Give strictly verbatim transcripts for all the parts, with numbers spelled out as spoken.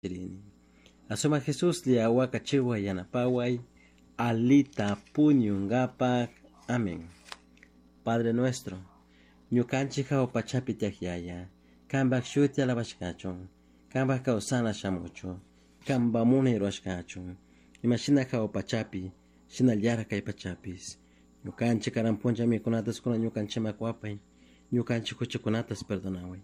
Rini. Asuma Jesus liawakachiwa yanapaway alita puñunkapak. Amén. Padre nuestro, ñukanchik jahua pachapi tiyak yaya, kanpak shuti alabashkachun, kanpak kawsana shamuchun, kanpak munay rurashkachun, imashina jahua pachapi, shinallatak kay pachapish. Ñukanchik karan punlla mikunatas kunan ñukanchikman kuwapay, ñukanchik huchakunatas perdonaway.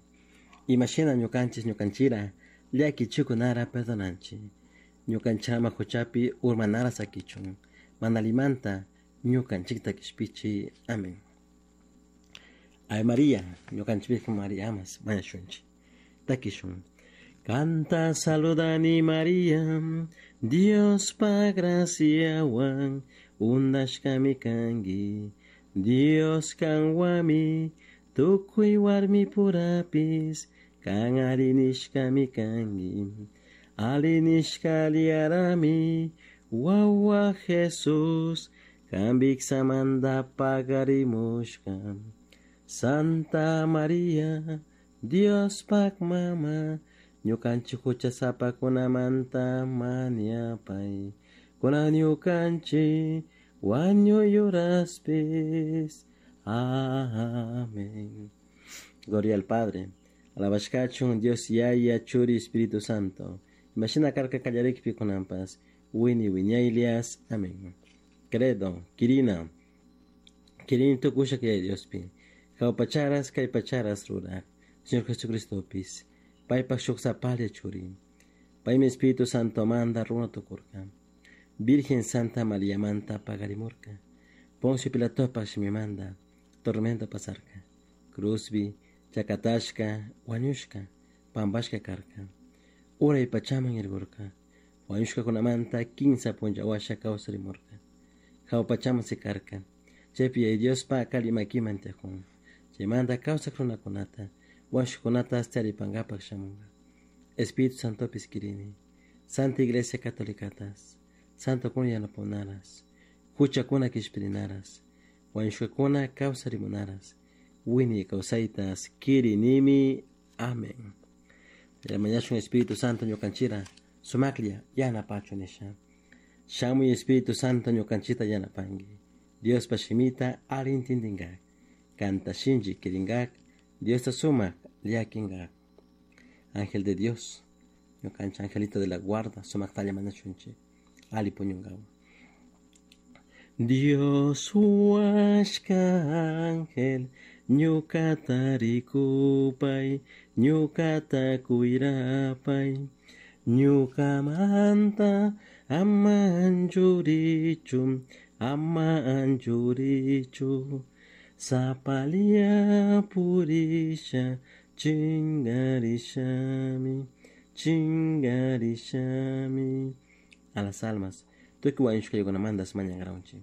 Imashina ñukanchik ñukanchira llakichikunara perdonanchik. Ñukanchik ama huchapi urmanara sakichun, mana allimanta ñukanchikta kishpichi. Amén. Ave María, ñukanchik Virgen María amas, mañashunchik. Takishun. Kanta saludani María, Diospa graciawan undashkami kanki. Dios kanwami, tukuy warmi purapis, kan ari nishkami kanki. Ali nishka aliyarami, wawa Jesús, kan viksamanta pagarimushka. Santa María, Diospak mama, ñukanchik huchasapakunamanta mañapay. Kunan ñukanchik wañuy uraspis. Amén. Gloria al Padre. Alabashkachun Dios Yaya Churi Espíritu Santo. Imashina karka kallarikpi kunanpas. Wini wiñaylias. Amén. Credo, Kirina. Kirini tukushak Yaya Diospi. Jahua pacharas kay pacharas rurak. Señor Jesucristopis. Paypak shuk sapalla churi. Paymi Espíritu Santo manda runa tukurka. Virgen Santa María manta pagarimurka. Poncio Pilatopak shimimanta tormento pasarka. Cruzbi, chakatashka, wañushka, pampashka karka. Uray pachaman irgurka. Wañushkakunamanta kinsa punlla washa kawsarimurka. Jahua pachaman sikarka. Chaypi Yaya Diospa kali makiman tiyakun. Chaymanta kawsak runakunata, wañushkakunata taripankapak shamunka. Espíritu Santopis kirini. Santa Iglesia Catolicatas. Santo kuna yanapunaras. Huchakuna kishpirinaras. Wañushkakuna kawsarimunaras. Wiñay kawsaytas kirinimi. Amén. Mañashun Espíritu Santo ñukanchira sumaklla yanapachu nisha. Shamuy Espíritu Santo ñukanchita yanapanki. Diospa shimita alli intindinkak. Kanta shinchi kirinkak. Diosta sumak llakinkak. Ángel de Dios, ñukanchik angelito de la guarda, sumaktalla mañashunchik. Ali puñunkawan. Dios huashka ángel, ñukata rikupay, ñukata kuyrapay, ñukamanta ama anchurichu, ama anchurichu, sapalla purisha, chingarishami, chingarishami. A las almas, tukuy wañushkakunamantas mañankaranchik.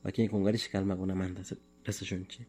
Wakin kunkarishka almakunamantas rezashunchik.